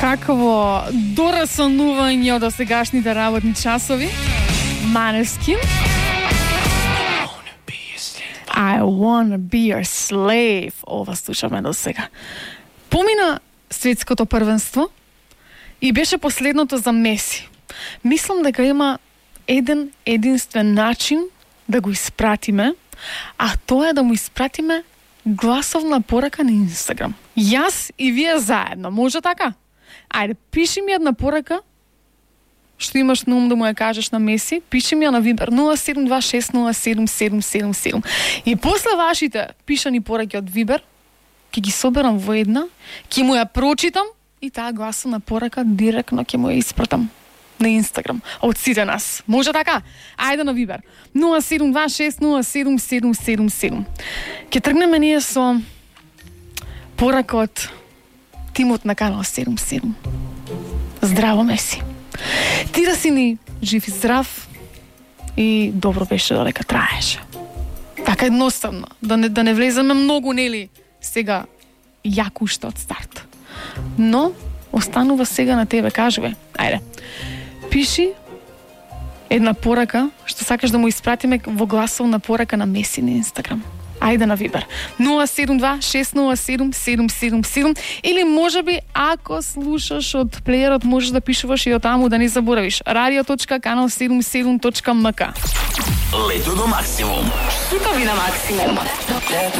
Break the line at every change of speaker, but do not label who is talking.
Какво дорасанување од сегашните работни часови. Måneskin. I wanna be your slave. Ова слушаме до сега. Помина светското првенство и беше последното за Меси. Мислам дека има еден единствен начин да го испратиме, а тоа е да му испратиме гласовна порака на Инстаграм. Јас и вие заедно. Може така? Ајде, пиши ми една порака што имаш на ум да му ја кажеш на Меси, пиши ми ја на Вибер 0726077777. И после вашите пишани пораки од Вибер, ќе ги соберам во една, ќе му ја прочитам и таа гласовна порака директно ќе му ја испратам на Инстаграм од сите нас. Може така? Ајде на Вибер 0726077777. Ќе тргнеме ние со порака од тимот на канал 77. Здраво, Меси. Ти да си ни жив и здрав и добро беше додека траеше. Така едноставно, да не влеземе многу, нели, сега јако уште од старт. Но останува сега на тебе, кажуве. Ајде. Пиши една порака што сакаш да му испратиме во гласовна порака на Меси на Инстаграм. Ајде на Вибер 0726077777 или можеби ако слушаш од плеерот можеш да пишуваш и од таму, да не заборавиш radio.canal77.mk.
Лето до максимум.
Хитови на максимум.